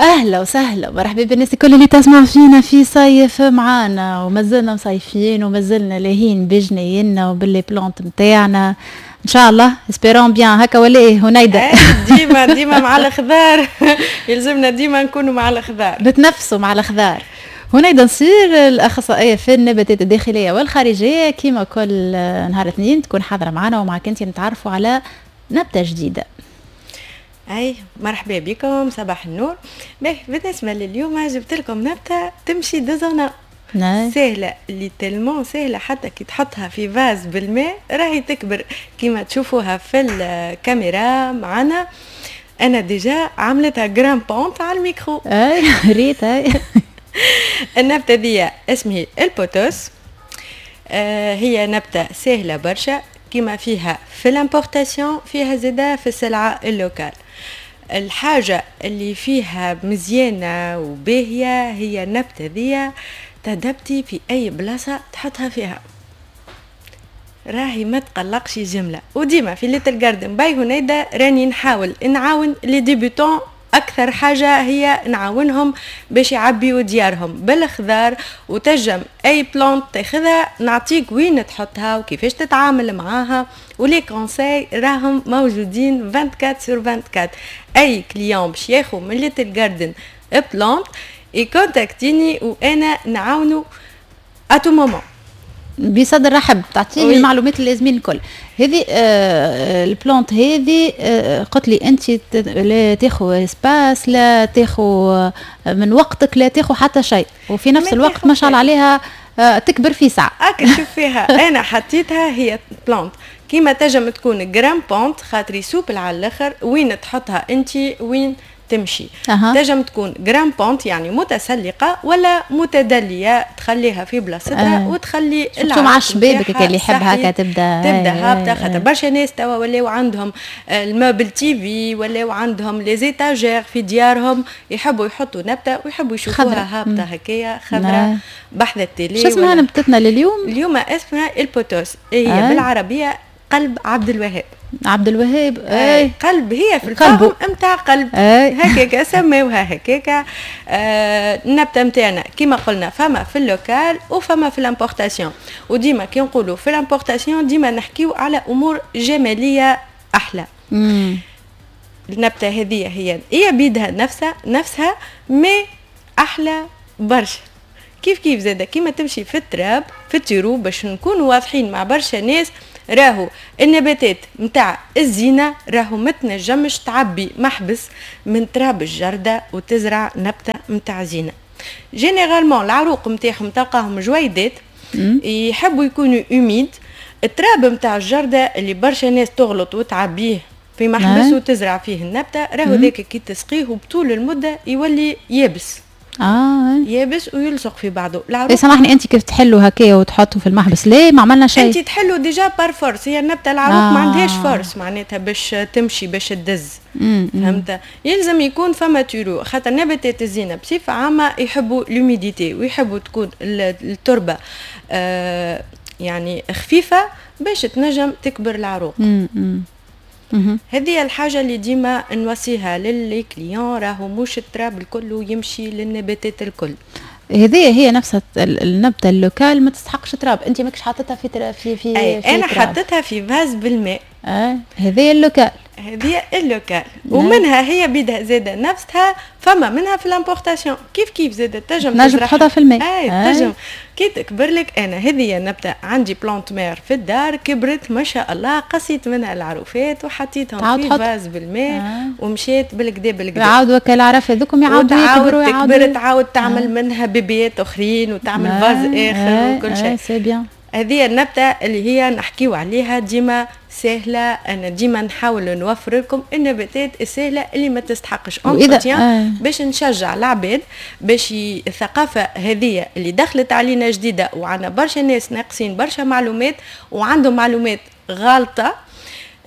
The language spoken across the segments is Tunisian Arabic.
اهلا وسهلا، مرحبا بالناس الكل اللي تسمع فينا في صيف معانا، ومازلنا مصيفين ومازلنا لاهين بجنينا وب les plantes نتاعنا. ان شاء الله espérons bien هكا ولا ايه هنيدا؟ ديما ديما مع الخضار، يلزمنا ديما نكونوا مع الخضار. نتنفسوا مع الخضار. هنيدا نصير، الاخصائيه في النباتات الداخلية والخارجيه، كيما كل نهار اثنين تكون حاضره معنا ومعك انت نتعرفوا على نبته جديده. اي، مرحبا بكم، صباح النور. باهي، بالنسبة لليوم جبت لكم نبته تمشي deux en un. سهله، اللي tellement سهله، حتى كي تحطها في vase بالماء راهي تكبر، كيما تشوفوها في الكاميرا معنا. انا déjà عملتها grimpante على الميكرو. اي، ريت، اي. النبتة دي اسمها ال pothos. هي نبته سهلة برشا، كيما فيها في l'importation فيها زاده في السلعة ال locale. الحاجة اللي فيها مزيانة وباهية هي النبتة ذي تدبتي في أي بلاصة تحطها فيها، راهي ما تقلقش جملة. وديما في Little Garden by هنيدا راني نحاول نعاون les débutants، اكثر حاجة هي نعاونهم باش يعبيوا ديارهم بالخضار، وتجم اي plante تاخذها نعطيك وين تحطها وكيفاش تتعامل معاها، و les conseils راهم موجودين 24 sur 24. اي client باش ياخذ من Little Garden plante يكونتاكتيني وانا نعاونو à tout moment. بصدر رحب تعطيه المعلومات اللازمين الكل. هذه ال plante هذه قلت لي انت لا تاخذ espace، لا تاخذ من وقتك، لا تاخذ حتى شيء، وفي نفس الوقت ما شاء الله عليها تكبر في ساعه. هاك شوف فيها، انا حطيتها هي plante كيما تنجم تكون grimpante خاطري souple على الاخر، وين تحطها انت وين تمشي. تنجم تكون grimpante يعني متسلقه، ولا متدليه تخليها في بلاصتها وتخلي مع الشباب اللي يحب هكا تبدا. تبدا هابطه، خاطر برشا ناس توا ولاو عندهم ال meuble TV، ولاو عندهم les étagères في ديارهم، يحبوا يحطوا نبته ويحبوا يشوفوها هابطة هكايا خضراء بحذا ال télé. شو اسمها نبتتنا لليوم؟ اليوم اسمها ال pothos، هي بالعربية قلب عبد الوهاب. عبد الوهاب. اي، قلب هي في ال forme نتاع قلب، هكاك سماوها هكاك. النبتة نتاعنا كيما قلنا فما في ال local وفما في l'importation، وديما كي نقولوا في l'importation ديما نحكيو على امور جمالية احلى. النبتة هذه هي هي بيدها نفسها نفسها mais احلى برشا. كيف كيف زاده كيما تمشي في التراب، في ال terreau، باش نكونوا واضحين مع برشا ناس، راهو النباتات نتاع الزينة راهو ما تنجمش تعبي محبس من تراب الجردة وتزرع نبتة نتاع زينة. généralement العروق نتاعهم تلقاهم جويدات، يحبوا يكونوا humides. التراب نتاع الجردة اللي برشا ناس تغلط وتعبيه في محبس وتزرع فيه النبتة، راهو ذاك كي تسقيه بطول المدة يولي يابس. يابس ويلصق في بعضه. العروق إيه، سامحني، انت كيف تحلوا هكايا وتحطوا في المحبس؟ ليه ما عملنا شيء؟ انت تحلوا déjà par force، هي النبتة العروق ما عندهاش force معناتها باش تمشي باش تدز، فهمت؟ يلزم يكون فما terreau، خاطر نباتات الزينة بصفة عامة يحبوا l'humidité ويحبوا تكون التربة يعني خفيفة باش تنجم تكبر العروق. هذه الحاجة اللي ديما نوصيها ل les clients، راهو مش التراب الكل يمشي للنباتات الكل. هذه هي نفسها النبتة ال locale ما تستحقش تراب، انت ماكش حاطتها في أي في انا تراب. حطيتها في vase بالماء. هذه ال locale. هذه ال locale، ومنها هي بيدها زاده نفسها فما منها في l'importation، كيف كيف زاده تنجم تنجم تزرعها. تحطها في الماء. اي. تنجم كي تكبر لك. انا هذه النبتة عندي plante mère في الدار، كبرت ما شاء الله، قصيت منها العروفات وحطيتهم تعاود في تحط. vase بالماء ومشيت بالكدا بالكدا. يعاودوا وكال العرف هذوكم يعاودوا وتعاود يكبروا. تكبر. يعاودوا تعاود تعمل منها بيبيات اخرين وتعمل vase اخر وكل شيء. c'est bien. هذه النبتة اللي هي نحكيو عليها ديما سهلة. أنا ديما نحاول نوفر لكم النباتات السهلة اللي ما تستحقش وإذا entretien باش نشجع العباد باش الثقافة هذه اللي دخلت علينا جديدة، وعندنا برشا ناس ناقصين برشا معلومات وعندهم معلومات غالطة،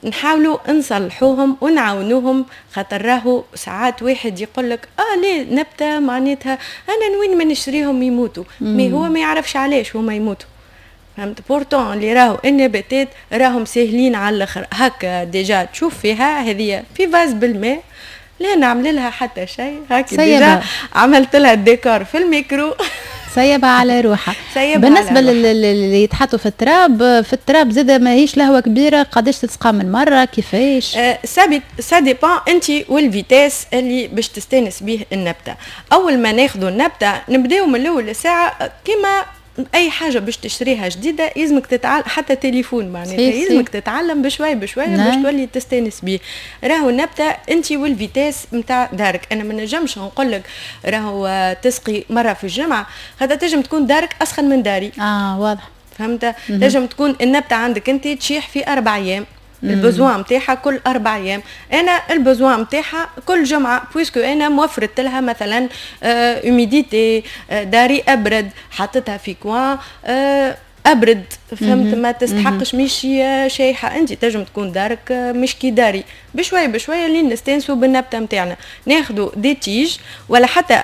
نحاولوا نصلحوهم ونعاونوهم، خاطر راهو ساعات واحد يقول لك ليه نبته معناتها انا وين ما نشريهم يموتوا، mais هو ما يعرفش علاش هما يموتوا، فهمت؟ pourtant اللي راهو النباتات راهم ساهلين على الاخر. هكا déjà تشوف فيها هذه في vase بالماء. لا نعمل لها حتى شيء، هاكي déjà عملت لها الديكور في الميكرو. سيبها على روحها. بالنسبة للي يتحطوا في التراب، في التراب زاده ماهيش لهوه كبيره، قداش تسقى من مرة، كيفاش؟ ça dépend انت وال vitesse اللي باش تستانس به النبته. اول ما ناخذوا النبتة نبداو من الاول ساعة، كيما اي حاجة باش تشتريها جديدة يلزمك تتعلم، حتى تليفون معناتها يلزمك تتعلم بشوي بشوي باش تولي تستانس بيه. راهو النبتة انت وال vitesse نتاع دارك، انا ما نجمش نقول لك راهو تسقي مرة في الجمعه، هذا تنجم تكون دارك اسخن من داري. واضح، فهمت؟ تنجم تكون النبتة عندك انت تشيح في 4 ايام، ال besoin نتاعها كل 4 ايام، انا ال besoin نتاعها كل جمعه، puisque انا موفرت لها مثلا humidité، داري ابرد، حطيتها في coin ابرد، فهمت؟ ما تستحقش، مش شايحه. انت تنجم تكون دارك مش كي داري، بشوي بشوية لين نستانسوا بالنبته نتاعنا، ناخذوا des tiges ولا حتى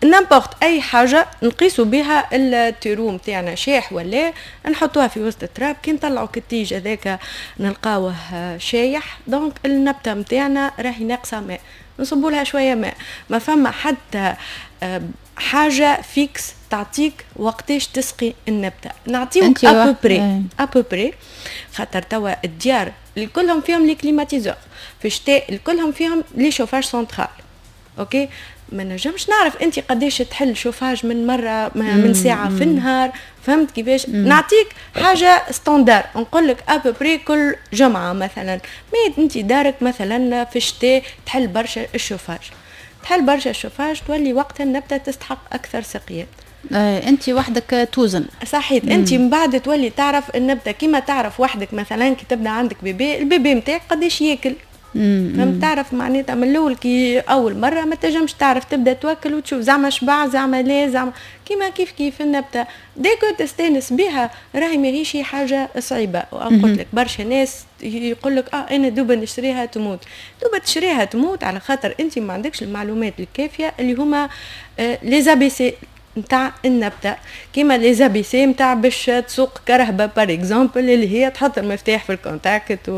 n'importe اي حاجة نقيسوا بها ال terreau نتاعنا شاح ولا، نحطوها في وسط التراب، كي نطلعوا ك ال tige هذاك نلقاوه شايح، donc النبتة نتاعنا راهي ناقصه ماء، نصبوا لها شوية ماء. ما فما حتى حاجة fixe تعطيك وقتاش تسقي النبته، نعطيوك à peu près à peu près، خاطر توا الديار الكلهم فيهم les climatiseurs، في الشتاء الكلهم فيهم les chauffages central، OK؟ ما نجمش نعرف انت قداش تحل شوفاج من مرة من ساعة في النهار، فهمت كيفاش؟ نعطيك حاجة standard، نقول لك à peu près كل جمعه مثلا، mais انت دارك مثلا في الشتاء تحل برشا الشوفاج، تحل برشا الشوفاج، تولي وقتها النبتة تستحق اكثر سقيه. انت وحدك توزن. صحيت، انت من بعد تولي تعرف النبته، كيما تعرف وحدك مثلا كي تبدا عندك bébé، ال bébé نتاعك قداش ياكل، فهمت؟ تعرف معناتها من الاول، كي اول مرة ما تنجمش تعرف، تبدا توكل وتشوف زعما شبع زعما لا زعما، كيما كيف كيف النبته، dès que تستانس بها راهي ماهيش حاجة صعيبه. قلت لك برشا ناس يقول لك انا دوبا نشريها تموت، دوبا تشريها تموت على خاطر انت ما عندكش المعلومات الكافيه اللي هما les ABC نتاع النبته، كيما les ABC نتاع باش تسوق كرهبه par exemple، اللي هي تحط المفتاح في ال contact،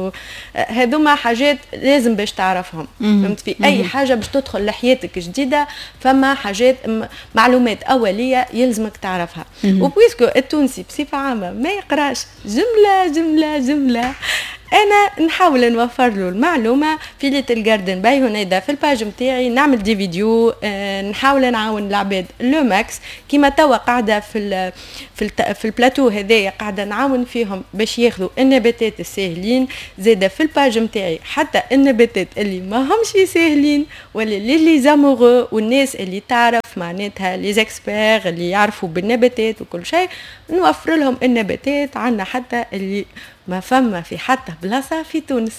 هذوما حاجات لازم باش تعرفهم، فهمت؟ في اي حاجة باش تدخل لحياتك جديدة فما حاجات معلومات اوليه يلزمك تعرفها. و puisque التونسي بصفة عامة ما يقراش جملة جملة جمله، انا نحاول نوفر له المعلومة في Little Garden by هنيدا، في ال page نتاعي نعمل des vidéos، نحاول نعاون العباد le max. كيما توا قاعدة في البلاتو هذايا قاعدة نعاون فيهم باش ياخذوا النباتات الساهلين، زاده في ال page نتاعي حتى النباتات اللي ما همش ساهلين، ولا les amoureux والناس اللي تعرف معناتها les experts اللي يعرفوا بالنباتات وكل شيء، نوفر لهم النباتات عندنا حتى اللي ما فما في حتى بلاصة في تونس،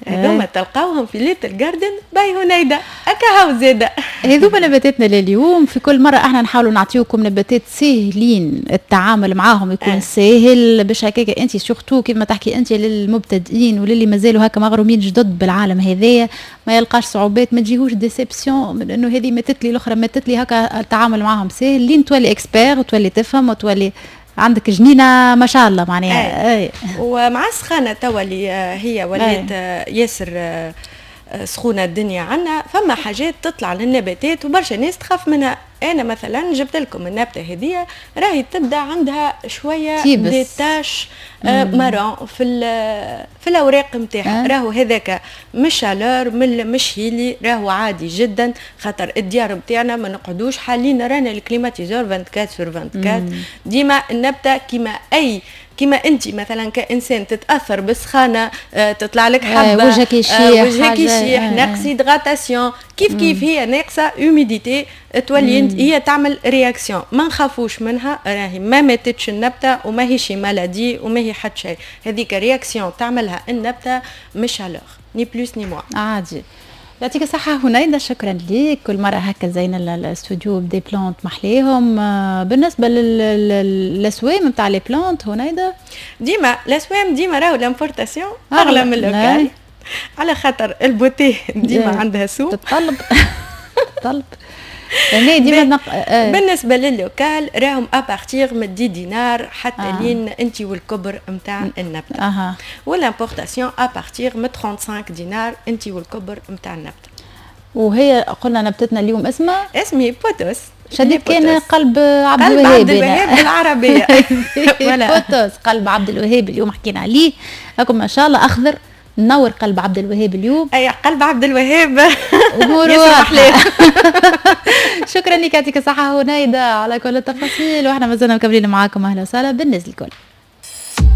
هذوما تلقاوهم في Little Garden by هنيدا اكا زاده. هذوما نباتاتنا لليوم. في كل مرة احنا نحاولوا نعطيوكم نباتات ساهلين التعامل معاهم يكون ساهل، باش هكاك انت surtout كيما تحكي انت للمبتدئين وللي مازالوا هكا مغرومين جدد بالعالم هذايا، ما يلقاش صعوبات، ما تجيهوش déception من انه هذه ماتت لي الاخرى ماتت لي، هكا التعامل معاهم ساهل لين تولي expert وتولي تفهم وتولي عندك جنينة ما شاء الله معناها. أي. ومع السخانه توا اللي هي ولات ياسر سخونة الدنيا عنا، فما حاجات تطلع للنباتات وبرشا ناس تخاف منها. انا مثلا جبت لكم النبتة هذه، راهي تبدا عندها شوية des taches marron في الاوراق نتاعها. راهو هذاك مش chaleur مش هيلي، راهو عادي جدا، خاطر الديار نتاعنا ما نقعدوش حالين رانا ال climatiseur 24 sur 24 ديما. النبتة كيما انت مثلا كانسان تتاثر بالسخانه، تطلع لك حبه، وجهك يشيح، وجهك يشيح، ناقص hydratation، كيف كيف هي ناقصه humidité تولي هي تعمل réaction. ما نخافوش منها، راهي ما ماتتش النبتة وما هيش maladie وما هي حتى شيء، هذيك réaction تعملها النبتة مش chaleur، ni plus ni moins. عادي. يعطيك الصحة هنيدة، شكرا ليك. كل مرة هكا زين الاستوديو ب des plantes محليهم. بالنسبة للأسوام نتاع les plantes هنيدة؟ ديما الأسوام ديما راهو l'importation أغلى من ال local، على خاطر ال beauté ديما عندها سوق. تتطلب تطلب يعني ديما بالنسبة لل local راهم à partir من 10 دينار حتى لين انت والكبر نتاع النبته، وال importation à partir من 35 دينار انت والكبر نتاع النبته. وهي قلنا نبتتنا اليوم اسمها اسمي pothos. شديت كان قلب عبد الوهاب، قلب عبد الوهاب بالعربيه. pothos قلب عبد الوهاب اليوم حكينا عليه، لكم ما شاء الله اخضر نور قلب عبد الوهاب اليوم. اي قلب عبد الوهاب. اموره. شكرا لك، يعطيك الصحة هنيدة على كل التفاصيل، واحنا مازلنا مكملين معاكم. اهلا وسهلا بالناس الكل.